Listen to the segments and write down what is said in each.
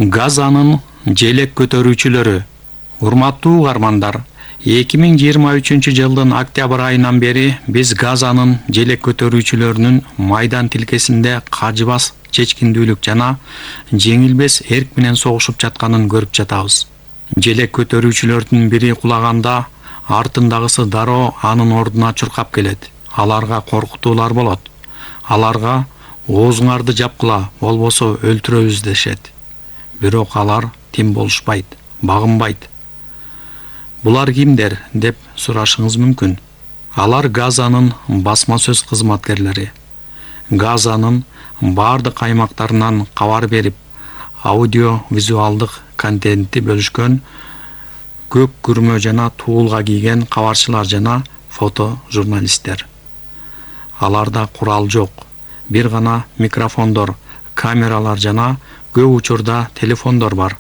Газанын желек көтөрүүчүлөрү. Урматтуу угармандар, 2023 жылдын октябрь айынан бери биз Газанын желек көтөрүүчүлөрүнүн майдан тилкесинде кажыбас чечкиндүүлүк жана жеңилбес эрк менен согушуп жатканын көрүп жатабыз. Желек көтөрүүчүлөрдүн бири кулаганда артындагысы дароо анын ордуна чуркап келет. Аларга коркутуулар болот. Аларга оозуңарды жапкыла, болбосо өлтүрөбүз дешет. Бирок алар тим болушпайт, багынбайт. Булар кимдер деп сурашыңыз мүмкүн. Алар Газанын басма сөз кызматкерлери. Газанын бардык аймактарынан кабар берип, аудио-визуалдык контентти бөлүшкөн көк күрмө жана туулга кийген кабарчылар жана фото журналисттер. Аларда курал жок. Бир гана микрофондор, камералар жана көп учурда телефондор бар.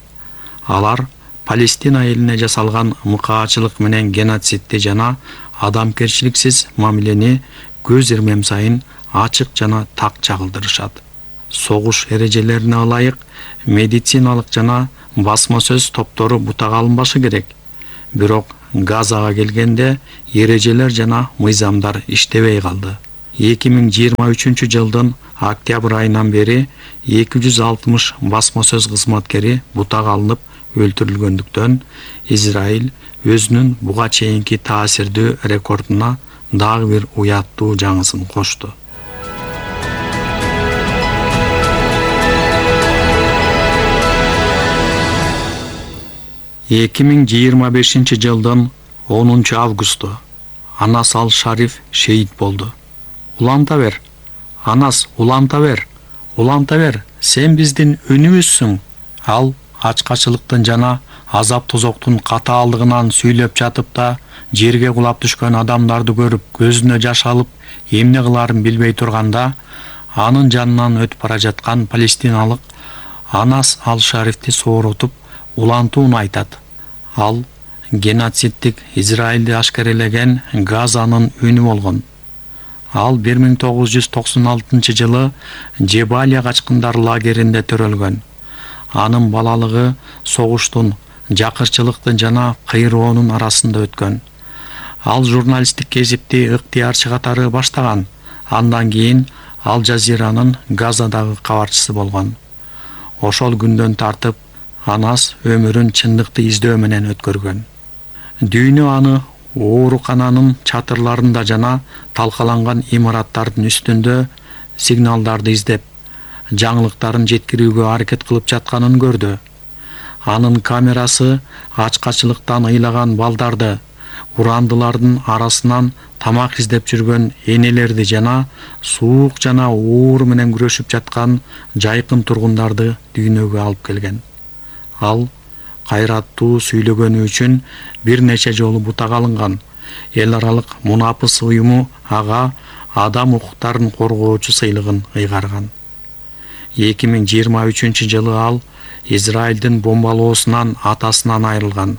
Алар Палестина элине жасалган мыкаачылык менен геноцидти жана адамкерчиликсиз мамилени көз ирмем сайын ачык жана так чагылдырышат. Согуш эрежелерине ылайык медициналык жана басма сөз топтору бутага алынбашы керек. Бирок Газага келгенде эрежелер жана мыйзамдар иштебей калды. 2023 жылдын октябрь айынан бери 260 басма сөз кызматкери бутага алынып өлтүрүлгөндүктөн Израиль өзүнүн буга чейинки таасирдүү рекордуна дагы бир уяттуу жаңысын кошту. жылдын 10 августу Анас Ал-Шариф шейит болду. Уланта бер, Анас, уланта бер, сен биздин үнүбүзсүң. Ал ачкачылыктын жана азап тозоктун катаалдыгынан сүйлөп жатып да, жерге кулап түшкөн адамдарды көрүп, көзүнө жаш алып, эмне кыларын билбей турганда, анын жанынан өтүп бара жаткан палестиналык Анас Ал-Шарифти сооротуп, улантууну айтат. Ал геноцидтик Израилди ашкерелеген Газанын үнү болгон. Ал 1996 жылы Жебалия качкындар лагеринде төрөлгөн. Анын балалыгы согуштун, жакырчылыктын жана кыйроонун арасында өткөн. Ал журналисттик кесипти ыктыярчы катары баштаган. Андан кийин Ал Жазиранын Газадагы кабарчысы болгон. Ошол күндөн тартып Анас өмүрүн чындыкты издөө менен өткөргөн. Дүйнө аны оорукананын чатырларында жана талкаланган имараттардын үстүндө сигналдарды издеп, жаңылыктарын жеткирүүгө аракет кылып жатканын көрдү. Анын камерасы ачкачылыктан ыйлаган балдарды, урандылардын арасынан тамак издеп жүргөн энелерди жана суук жана оор менен күрөшүп жаткан жайкын тургундарды дүйнөгө алып келген. Ал кайраттуу сүйлөгөнү үчүн бир нече жолу бутага алынган. Эл аралык мунапыс уюму ага адам укуктарын коргоочу сыйлыгын ыйгарган. 2023 жылы ал Израилдин бомбалоосунан атасынан айрылган.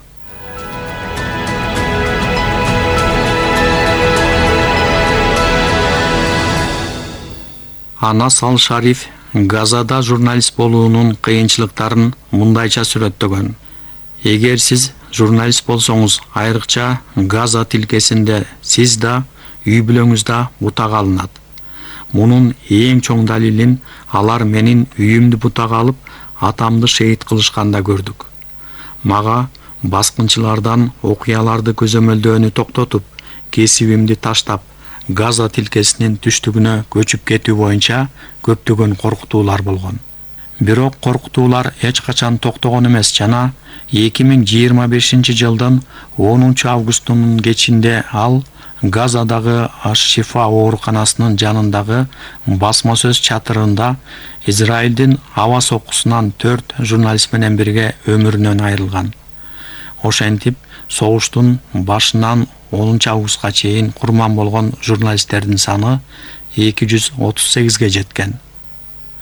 Анас Ал-Шариф Газада журналист болуунун кыйынчылыктарын мындайча сүрөттөгөн. Эгер сиз журналист болсоңуз, айрыкча Газа тилкесинде, сиз да үй бүлөңүздө бутага алынат. Мунун эң чоң далилин алар менин үйүмдү бутага алып, атамды шейит кылышканда көрдүк. Мага баскынчылардан окуяларды көзөмөлдөөнү токтотуп, кесибимди таштап, Газа тилкесинин түштүгүнө көчүп кетүү боюнча көптөгөн коркутуулар болгон. Бирок коркутуулар эч качан токтогон эмес жана 2025 жылдын 10 августунун кечинде ал Газадагы Аш-Шифа ооруканасынын жанындагы басма сөз чатырында Израилдин аба соккусунан 4 журналист менен бирге өмүрүнөн айрылган. Ошентип, согуштун башынан 10 августка чейин курман болгон журналисттердин саны 238ге жеткен.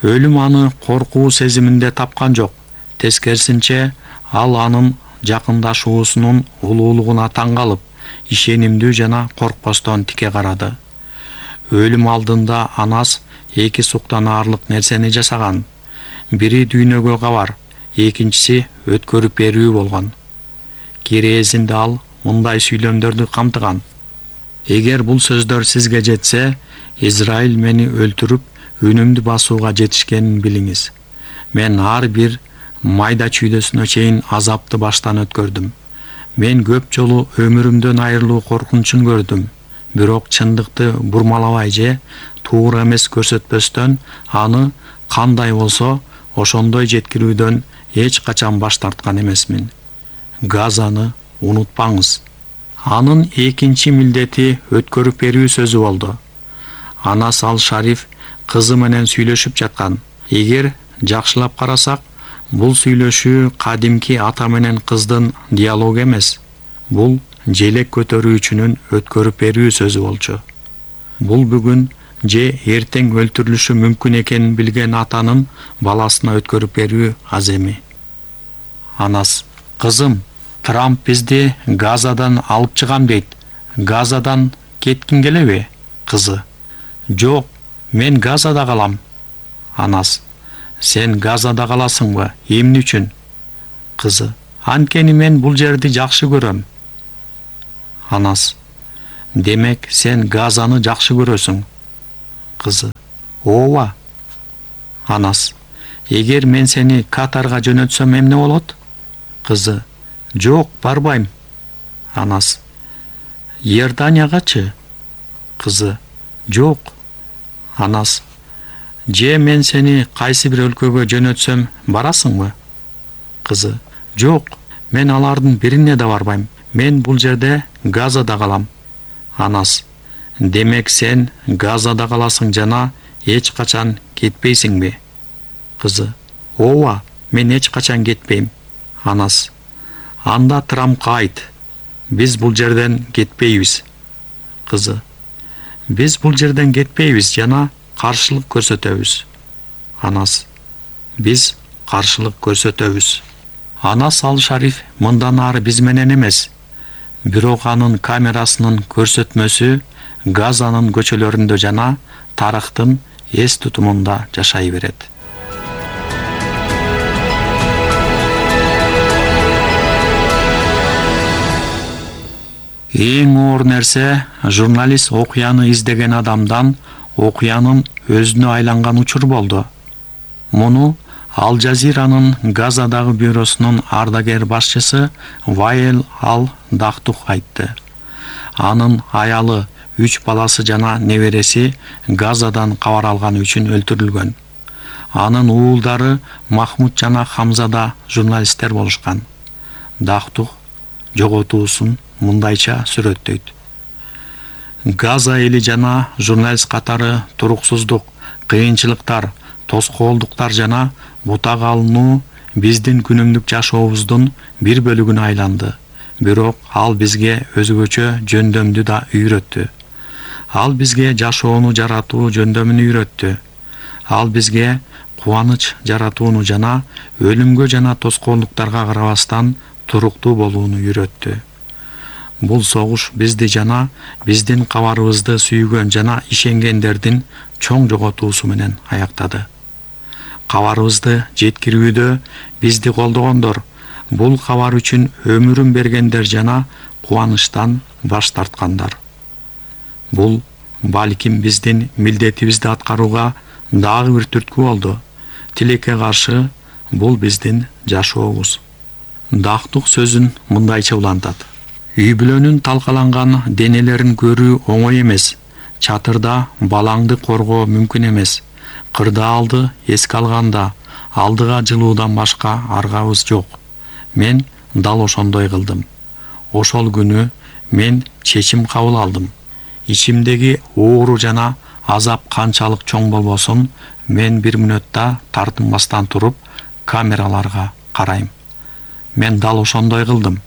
Өлүм аны коркуу сезиминде тапкан жок. Тескерисинче, ал анын жакындашуусунун улуулугуна таң калып, ишенимдүү жана коркпостон тике карады. Өлүм алдында Анас эки суктан аарлык нерсени жасаган. Бири дүйнөгө кабар, экинчиси өткөрүп берүү болгон. Кирээзинде ал мындай сүйлөмдөрдү камтыган: эгер бул сөздөр сизге жетсе, Израиль мени өлтүрүп, үнүмдү басууга жетишкенин билиңиз. Мен ар бир майда чүйдөсүнө чейин азапты баштан өткөрдүм. Мен көп жолу өмүрүмдөн айрылуу коркунучун көрдүм. Бирок чындыкты бурмалабай же туура эмес көрсөтпөстөн, аны кандай болсо ошондой жеткирүүдөн эч качан баш тарткан эмесмин. Газаны унутпаңыз. Анын экинчи милдети өткөрүп берүү сөзү болду. Анас ал-Шариф кызы менен сүйлөшүп жаткан. Эгер жакшылап карасак, бул сүйлөшүү кадимки ата менен кыздын диалогу эмес. Бул желек көтөрүүчүнүн өткөрүп берүү сөзү болчу. Бул бүгүн же эртең өлтүрүлүшү мүмкүн экенин билген атанын баласына өткөрүп берүү аз эми. Анас: кызым, Трамп бизди Газадан алып чыгам дейт. Газадан кеткиң келеби? Кызы: жок, мен Газада калам. Анас: сен Газада каласыңбы? Эмне үчүн? Кызы: анткени мен бул жерди жакшы көрөм. Анас: демек сен Газаны жакшы көрөсүң. Кызы: ооба. Анас: эгер мен сени Катарга жөнөтсөм эмне болот? Кызы: жок, барбайм. Анас: Иорданиягачы? Кызы: жок. Анас: же мен сени кайсы бир өлкөгө жөнөтсөм барасыңбы? Кызы: жок, мен алардын бирине да барбайм. Мен бул жерде Газада калам. Анас: демек сен Газада каласың жана эч качан кетпейсиңби? Кызы: ооба, мен эч качан кетпейм. Анас: анда Трампка айт, биз бул жерден кетпейбиз. Кызы: биз бул жерден кетпейбиз жана каршылык көрсөтөбүз. Анас: биз каршылык көрсөтөбүз. Анас ал-Шариф мындан ары биз менен эмес, бирок анын камерасынын көрсөтмөсү Газанын көчөлөрүндө жана тарыхтын эс тутумунда жашай берет. Эң оор нерсе, журналист окуяны издеген адамдан окуянын өзүнө айланган учур болду. Муну Ал-Жазиранын Газадагы бюросунун ардагер башчысы Вайл ал-Дахтух айтты. Анын аялы, 3 баласы жана небереси Газадан кабар алганы үчүн өлтүрүлгөн. Анын уулдары Махмуд жана Хамза да журналисттер болушкан. Дахтух жоготуусун мындайча сүрөттөйт. Газа эли жана журналист катары туруксуздук, кыйынчылыктар, тоскоолдуктар жана бутак алынуу биздин күнүмдүк жашообуздун бир бөлүгүнө айланды. Бирок ал бизге өзгөчө жөндөмдү да үйрөттү. Ал бизге жашоону жаратуу жөндөмүн үйрөттү. Ал бизге кубаныч жаратууну жана өлүмгө жана тоскоолдуктарга карабастан туруктуу болууну үйрөттү. Бул согуш бизди жана биздин кабарыбызды сүйгөн жана ишенгендердин чоң жоготуусу менен аяктады. Кабарыбызды жеткирүүдө бизди колдогондор, бул кабар үчүн өмүрүн бергендер жана кубанычтан баш тарткандар. Бул балким биздин милдетибизди аткарууга дагы бир түрткү болду. Тилекке каршы, бул биздин жашообуз. Дахтух сөзүн мындайча улантат. Үй-бүлөнүн талкаланган денелерин көрүү оңой эмес. Чатырда балаңды коргоо мүмкүн эмес. Кырдаалды эске алганда алдыга жылуудан башка аргабыз жок. Мен дал ошондой кылдым. Ошол күнү мен чечим кабыл алдым. Ичимдеги оору жана азап канчалык чоң болбосун, мен бир мүнөттө тартынбастан туруп камераларга карайм. Мен дал ошондой кылдым.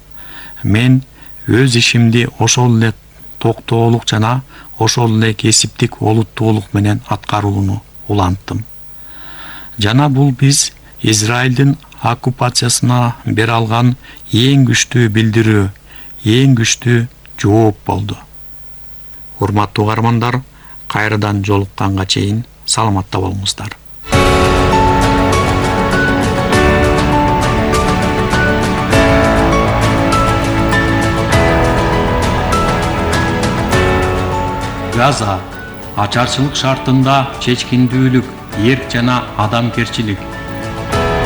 Мен өз ишимди ошол эле токтоолук жана ошол эле кесиптик олуттуулук менен аткарууну уланттым. Жана бул биз Израилдин оккупациясына бере алган эң күчтүү билдирүү, эң күчтүү жооп болду. Урматтуу угармандар, кайрадан жолукканга чейин саламатта болуңуздар. Газа. Ачарчылык шартында чечкиндүүлүк, эрк жана адамгерчилик.